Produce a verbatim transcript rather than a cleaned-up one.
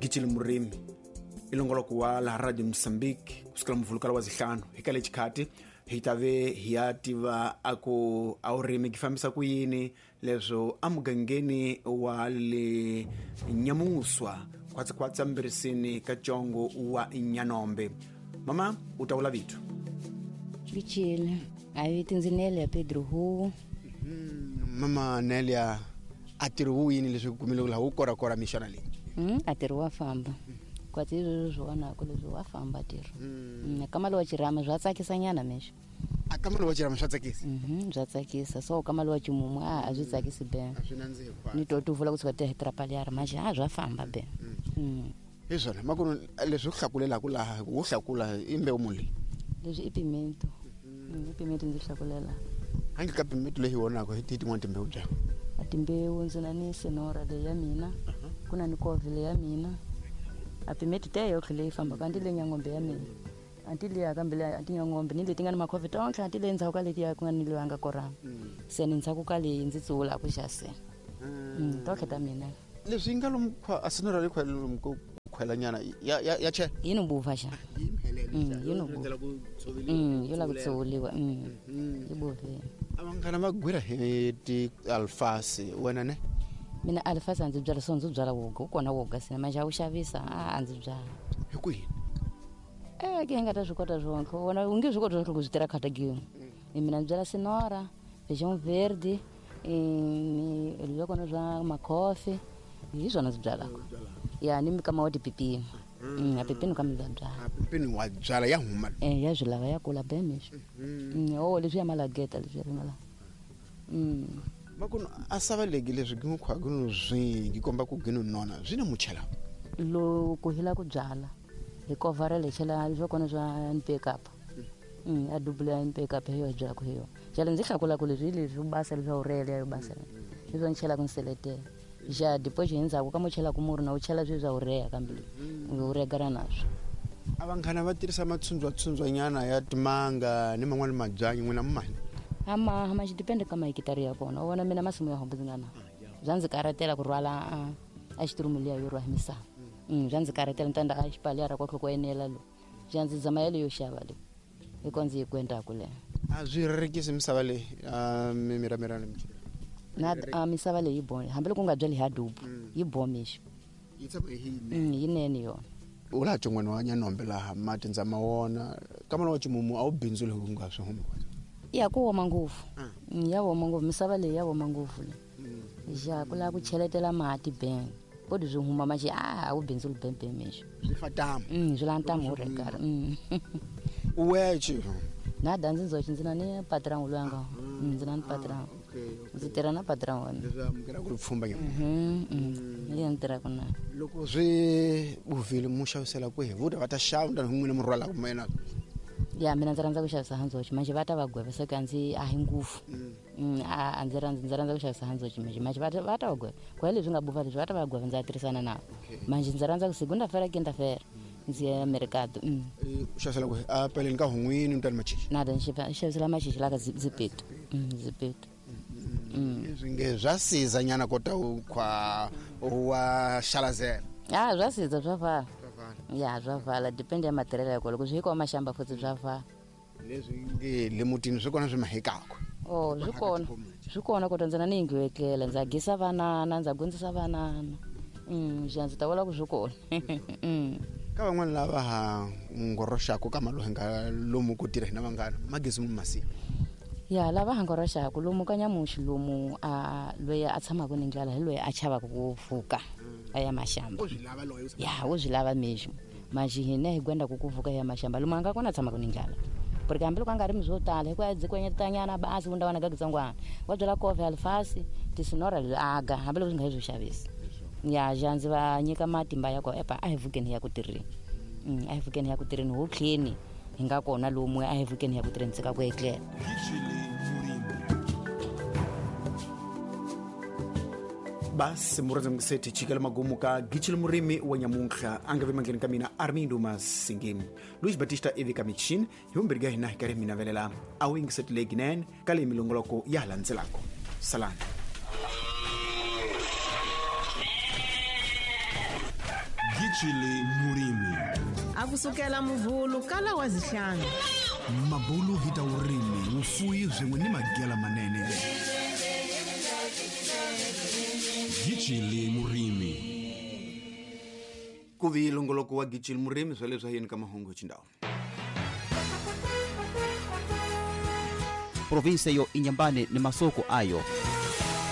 Gitshili Murimi i longoloko wa laha Radio Mozambique kusukela muvulukala wa zihlanu hi ka lexikati hi ta ve hi ya tiva a ku a wurimi gi fambisa ku yini leswo emugangeni wa le Nyamuswa khwatsakhwatsa mbirisini ka Congo wa Nyanombe. Mama u ta vula vito. Gitshili a vito ndzi Nelia Pedro Hu. Mama Nelia a tirhi wu yini leswi kumile laha wu korakora mixana leyi? Mm, a tirhi wa famba kwatsi leswi swi vonaka leswi wa famba tirho. Mm, kamalo wa chirama bya tsakisa nyana mexo. A kamalo wa chirama swa tsakisa? Mhm, bya tsakisa. So kamalo wa chimumu a a byi tsakisi be. A swi nandzihi kwatsi. Ni to tu vula ku tshuka ti hetrapaliara manje a bya famba be. Mm. Hi swona makunu leswi u hlakulelaka laha wo hlakula i mbewu muni leyi? Leswi i pimento. Mm, i pimento ndzi hlakulela. Handle ka pimento leyi vonaka hi tin'wana timbewu bya? A timbewu ndzi na ni senora leyi ya mina, ku na ni kove leyi ya mina. A pimento te yotlhe leyi fambaka anti leyi nyangombe ya mina. Anti leyi kambe leyi anti nyangombe ni leti nga ni makhofe tontlhe anti leyi ndzhaku ka leti ya ku nga ni leyi nga korama. Se ni ndzhaku ka leyi ndzi tsula ku xa se. Mm, tontlhe ta mina. Leswi nga lomu khwa a senora leyi khwa lomu ku khwelanyana ya ya ya che. Yi no buva xa. Mm, yi no buva. Mm, yo la ku tshuliwa. Mm. Yi buvile. Vanghana va gwira hi ti alfasi wena ne? Mina alfasi a ndzi byala so ndzi byala woga wu kona woga sina manje a wu xavisa a a ndzi byala. Hi ku yini? Eh ke nga ta swi kota swonke wona u nge swi koti swonke ku swi tirha khata gini. Mina ndzi byala senora, feijão verde, ni leswi kona swa makhofi hi swona ndzi byalaka. Ya ni mikama wa tipipini. Mm, a pipini kambe ndza byala. A pipini wa byala ya huma. Eh ya swi lava ya kula be mexo. Mm, oh leswi ya malageta leswi ya mala. Mm. Makunu a savaleki leswi gi khwa gi no zwingi komba ku gi no nona swi na muchela. Loko hi la ku byala hi kovara le chela leswi kona swa N P K. Mm, a double ya N P K hi yo byala ku hi yo. Jala ndzi hlakula ku leswi leswi basa leswi a urele ya yo basa. Leswi ni chela ku nseletela. Ja depois hi ndzhaku ka muchela ku murhu na u chela swi swa urea kambe u regara naswo. A vanghana va tirhisa matshundzwa tshundzwanyana ya timanga ni man'wana mabyanyi n'wina mani? Ama ama xi depende ka mahekitari ya kona. U vona mina masimu ya hombe ndzi nga na. Bya ndzi karatela ku rhwala a xiturumu liya yo rhwa hi misava. Mm, bya ndzi karatela ni ta a xipaliya ra kwa ku enela lo. Bya ndzi zama yale yo xava le. Hi ko ndzi yi kwendaka le. A swi rerekisi misava leyi a mimiramira ni michela. Na a misava leyi bone hambi loko u nga byali hi adubu yi bomixo. Yi tshama hi yinene. Yinene yona. U laha tsongwana wa Nyanombe laha mati ndza ma wona kamana wa ximumu a wu bindzuli hi ku nga swi humi. Ya ku woma ngopfu. Ya woma ngopfu misava leyi ya woma ngopfu le. Ja ku lava ku cheletela mati ben. Kodi swi huma manje a a wu bindzuli bembe mixo. Swi fa tamu. Mm, swi la ntamu regara. Mm. Uweche. Na danzi nzochi ndzi na ni patron lwanga. Ndzi na ni patron. Ndzi tirha na patron wa mina. Leswi amukela ku pfumba nyama. Mhm. Ni ya ntirha ku na. Loko swi buvile mu xavisela kwihi? Vuta va ta xava ndani n'wina mu rhwala ku mina. Ya mina ndzi rhandza ku xavisa handzochi manje va ta va gweva se ka ndzi a hi ngufu. Mm, a ndzi rhandza ndzi rhandza ku xavisa handzochi manje manje va ta va ta va gweva. Kwa leswi nga buva leswi va ta va gweva ndza tirhisana navo. Manje ndzi rhandza ku segunda feira quinta feira. Ndzi ya mercado. Mm. U xavisela kwihi? A peleni ka hun'wini mntani machichi. Na da ndzi xavisela machichi la ka zipeto. Mm, zipeto. Mm. Leswi nge swa siza nyana kota u khwa wa xalazela. Ah, swa siza swa vala. Ya swa vala depend ya material ya kona loko swi hikuva maxamba futhi swa vala. Leswi nge le mutini swi kona swi mahekaka. Oh, swi kona. Swi kona kota ndzi na ni yindlu yo etlela ndza gisa vanana ndza gondzisa vanana. Mm, ja ndzi ta vula ku swi kona. Mm. Ka van'wana lava ha ngoroxaka ka malohe nga lomu ku tirha hina vanghana magezi mu masiya. Ya lava ha ngoroxaka lomu ka nyamuxi lomu a loyi a tshamaka ni ndlala hi loyi a chavaka ku vuka a ya maxamba. Ya wo swi lava mexo manje hina hi gwenda ku ku vuka ya maxamba lomu a nga kona tshamaka ni ndlala. Porque hambi loko a nga rimi swo tala hikuva ndzi kwenyetanyana basi wu ndawana gagitsongwana wa byala kove alfasi tisinora aga hambi loko swi nga hi swo xavisa. Ya ja ndzi va nyika matimba ya ko epa a hi vukeni ya ku tirheni. Mm, a hi vukeni ya ku tirheni ho tlheni hi nga kona lomu a hi vukeni ya ku tirheni tsika ku etlela. Basi murhandza mukiseti chikela magumu ka Gitshili Murimi wa nyamuntlha a nga ve mandleni ka mina Armindo Masingi Luis Batista ivi ka michini hi vumbirhi ka hina hi karhi mi navelela a wu yingiseti leyi ka leyi milongoloko ya ha landzelaka. Salani. Gitshile Murimi. Akusukela muvulu kala wa zihlanu. Mabulu hita urimi, ufuyi swin'we ni magela manene. Gitshile Murimi. Ku vi longoloko wa Gitshile Murimi swa leswi yini ka mahungu xindhawu. Provinsia yo Inhambane ni masoko ayo.